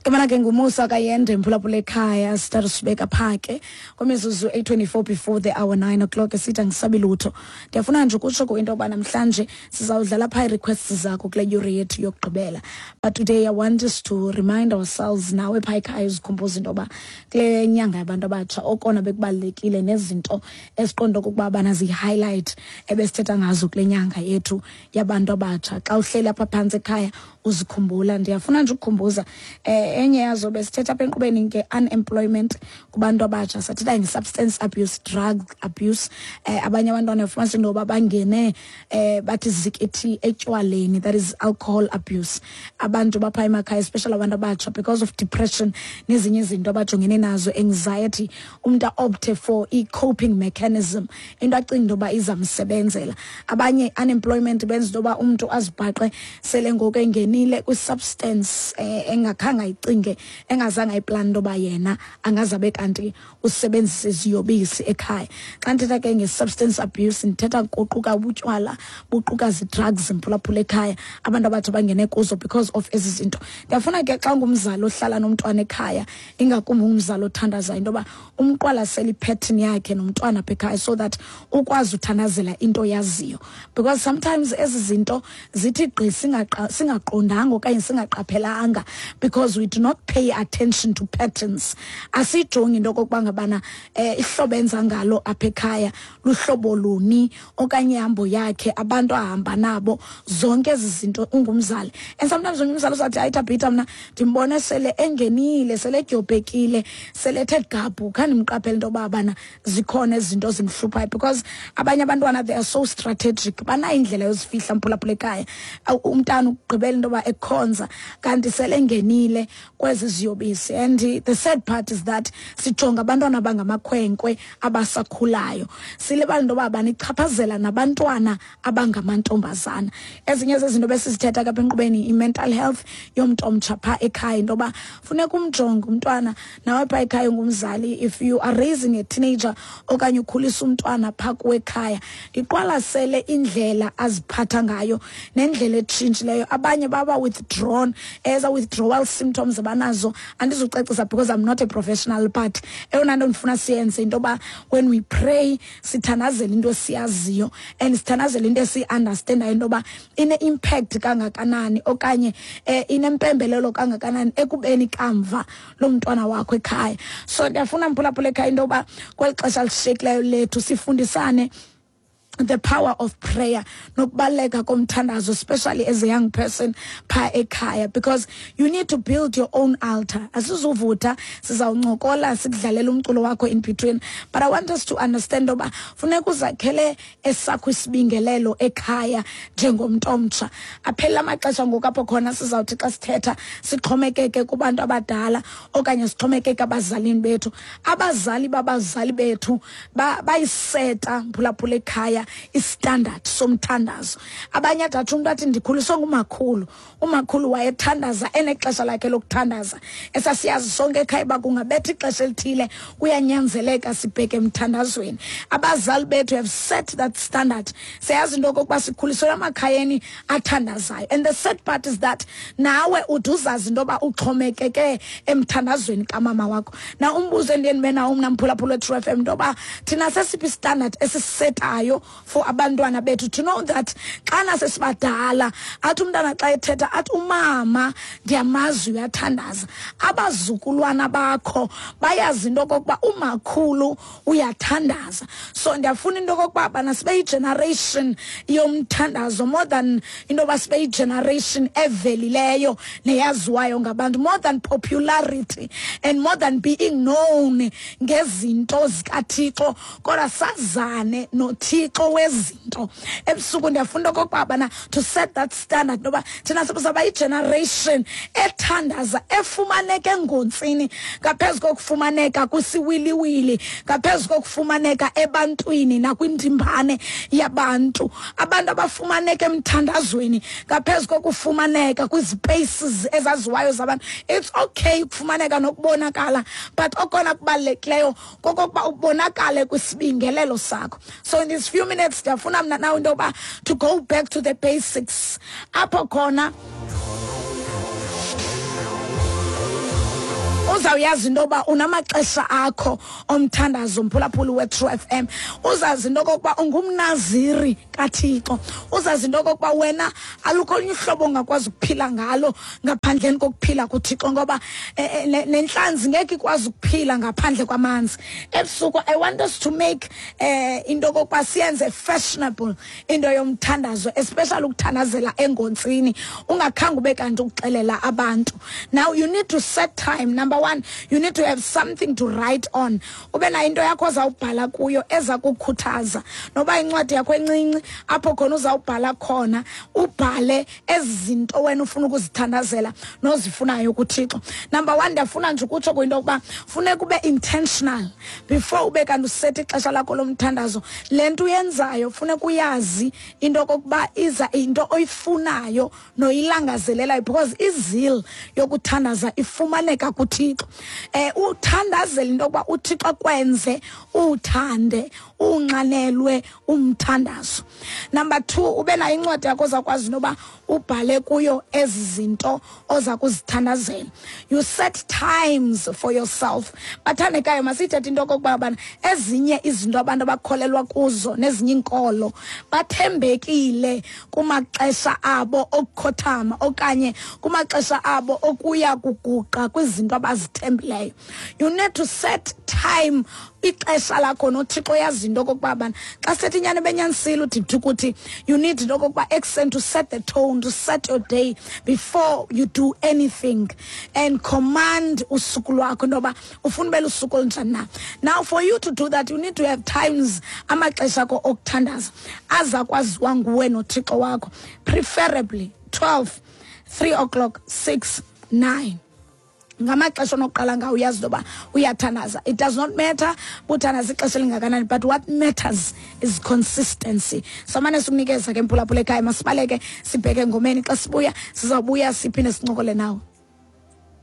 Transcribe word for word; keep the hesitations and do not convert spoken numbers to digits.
Kamana ke nguMusa Kayende, mphulaphula ekhaya. Sithatha sibeka pha ke kwimizuzu eight twenty-four before the hour nine o'clock. Esithi angisabi lutho. Ndiyafuna nje ukutsho kwinto yoba namhlanje sizawudlala phaa ii-requests zakho kule yure yethu yokugqibela, but today I want us to remind ourselves, nawe phaa ekhaya, uzikhumbuza into yoba kule nyanga yabantu abatsha okona bekubalulekile nezinto esiqonda okokuba bana ziyi-highlight ebesithetha ngazo kule nyanga yethu yabantu abatsha. Xa uhleli apha phantsi ekhaya uzikhumbula, ndiyafuna nje ukukhumbuza eh enye yazo besithetha apha enkqubeni nge-unemployment kubantu abatsha, sathetha nge-substance abuse, drug abuse. eh abanye abantwana ufumanisa into yoba bangene eh bathi zikithi etywaleni, that is alcohol abuse. Abantu bapha emakhaya, especially abantu abatsha, because of depression nezinye izinto abajongene nazo, anxiety, umntu a-opte for i-coping mechanism, into acinga into yoba izamsebenzela. Abanye, unemployment benza into yoba umntu azibhaqe sele ngoku engenile kwi-substance eh, engakhange ayicinge, engazange ayiplani into yoba yena angazabe kanti usebenzisa iziyobisi ekhaya. Xa ndithetha ke nge-substance abuse, ndithetha kuquka ubutywala, buquka zi-drugs, mphulaphula ekhaya, abantu abathi bangene kuzo because of ezi zinto. Ndiyafuna ke xa ngumzali ohlala nomntwana ekhaya, ingakumbi umzali othandazayo, into yoba umqwalasele i-pattern yakhe nomntwana apha ekhaya so that ukwazi uthandazela into yaziyo, because sometimes ezi zinto zithi gqi singaqa- singaqondanga okanye singaqaphelanga because we do not pay attention to patterns. Asijongi into okokuba ngabana um ihlobo enza ngalo apha ekhaya luhlobo luni okanye ihambo yakhe, abantu ahamba nabo, zonke ezi zinto ungumzali. And sometimes omnye umzali uzathi, "Hayi Thabitha, mna ndimbone sele engenile, sele edyobhekile, sele ethe gabhu, khandimqaphele into yoba bana zikhona ezi zinto zimhluphayo," because abanye abantwana, they are so strategic, banayo indlela yozifihla, mphulaphula ekhaya. Awu, umntana ukugqibela into yoba ekhonza kanti sele engenile kwezi ziyobisi. And the sad part is that sijonga abantwana abangamakhwenkwe abasakhulayo, silibala into yoba banichaphazela nabantwana abangamantombazana. Ezinye zezinto besizithetha kapha enkqubeni, i-mental health yomntu omtsha phaa ekhaya, into yoba funeka umjonge umntwana nawe phaa ekhaya ungumzali. If you are raising a teenager okanye ukhulisa umntwana phaa kuwe ekhaya, iqwalasele indlela aziphatha ngayo nendlela etshintshileyo. Abanye baba withdrawn, eza withdrawal symptoms abanazo andizucacisa because I'm not a professional, but eyona nto ndifuna siyenze into yoba when we pray, sithandazele into esiyaziyo and sithandazele into esiyi-understandayo into yoba ine-impact kangakanani okanye um inempembelelo kangakanani ekubeni kamva lo mntwana wakho ekhaya. So ndiyafuna, mphulaphula ekhaya, into yoba kweli xesha lishiyekileyo lethu sifundisane the power of prayer nokubaluleka komthandazo, especially as a young person pha ekhaya, because you need to build your own altar. Asizuvutha, sizawuncokola, sikudlalela umculo wakho in between, but I want us to understand oba funeka uzakhele esakho isibingelelo ekhaya njengomntu omtsha. Aphela amaxesha ngoku apho khona sizawuthi xa sithetha sixhomekeke kubantu abadala okanye sixhomekeke abazalini bethu. Abazali babazali bethu bayiseta, mphulaphula ekhaya, i-standard somthandazo. Abanye adatsho umntu athi, "Ndikhuliswe ngumakhulu, umakhulu wayethandaza, enexesha lakhe lokuthandaza esasiyazi sonke ekhaya uba kungabetha ixesha elithile kuyanyanzeleka sibheke emthandazweni." Abazali bethu have set that standard. Siyazi into okokuba sikhuliswe emakhayeni athandazayo, and the sad part is that nawe ude uzazi into yoba uxhomekeke emthandazweni kamama wakho. Na umbuzo endiye ndibe nawo mna, mphulaphula we-True F M, into yoba thina sesiphi i-standard esisetayo for abantwana bethu, to know that xana sesibadala athi umntana xa ethetha athi, "Umama ndiyamazi uyathandaza." Abazukulwana bakho bayazi into okokuba umakhulu uyathandaza. So ndiyafuna into okokuba bana sibe yi-generation yomthandazo more than into yoba sibe yi-generation evelileyo neyaziwayo ngabantu, more than popularity and more than being known ngezinto zikaThixo, kodwa sazane noThixo wezinto. Ebusuku ndiyafunda okokuba bana to set that standard noba thina sizawuba yi-generation ethandaza, efumaneka engontsini ngaphezu kokufumaneka kwisiwiliwili, ngaphezu kokufumaneka ebantwini nakwindimbane yabantu, abantu abafumaneka emthandazweni ngaphezu kokufumaneka kwizi-spaces ezaziwayo zabantu. It's okay ukufumaneka nokubonakala, but okona kubalulekileyo kokokuba ubonakale kwisibingelelo sakho. So in these few minutes ndiyafuna mna nawe into yoba to go back to the basics apho khona. Uzawuyazi into yoba unamaxesha akho omthandazo, mphulaphuli we-True F M. Uzazi into okokuba ungumnaziri kaThixo. Uzazi into okokuba wena alukho olunye uhlobo ongakwazi ukuphila ngalo ngaphandleni kokuphila kuThixo, ngoba eh, eh, nentlanzi ngeke ikwazi ukuphila ngaphandle kwamanzi. Ebusuku I want us to make eh into okokuba siyenze fashionable into yomthandazo, especially ukuthandazela engontsini ungakhange ube kanti ukuxelela abantu. Now you need to set time. Number one, you need to have something to write on. Ube nayo into yakho ozawubhala kuyo eza kukhuthaza, noba incwadi yakho encinci apho khona uzawubhala khona, ubhale ezi zinto wena ufuna ukuzithandazela nozifunayo kuThixo. Number one, ndiyafuna nje ukutsho kwinto yokuba funeka ube intentional before ube kanti usetha ixesha lakho lomthandazo. Le nto uyenzayo funeka uyazi into okokuba iza into oyifunayo noyilangazelelayo, because i-zeal yokuthandaza ifumaneka kuThixo. Eh uthandazela into yokuba uThixo akwenze uthande, unxanelwe umthandazo. Number two, ube nayo incwadi yakho ozakwazi noba ubhale kuyo ezi zinto oza kuzithandazela. You set times for yourself. Bathandekayo, masithethe into okokuba bana ezinye izinto abantu abakholelwa kuzo nezinye iinkolo bathembekile kumaxesha abo okukhothama okanye kumaxesha abo okuya kuguqa kwizinto abazithembileyo. You need to set time, ixesha lakho noThixo. Yazi into okokuba bana xa sithethi inyani benyanisile udithi ukuthi you need into okokuba ekuseni to set the tone, to set your day before you do anything, and command usuku lwakho into yoba ufuna ube lusuku olunjani na. Now for you to do that, you need to have times, amaxesha akho okuthandaza aza kwaziwa nguwe noThixo wakho, preferably twelve, three o'clock, six, nine, ngamaxesha onokuqala ngawo uyazi into yoba uyathandaza. It does not matter buthandaza ixesha elingakanani, but what matters is consistency. Samane sikunikeza ke, mphulaphula ekhaya. Masibaleke sibheke engomeni. Xa sibuya, sizawubuya siphinde sincokole nawe.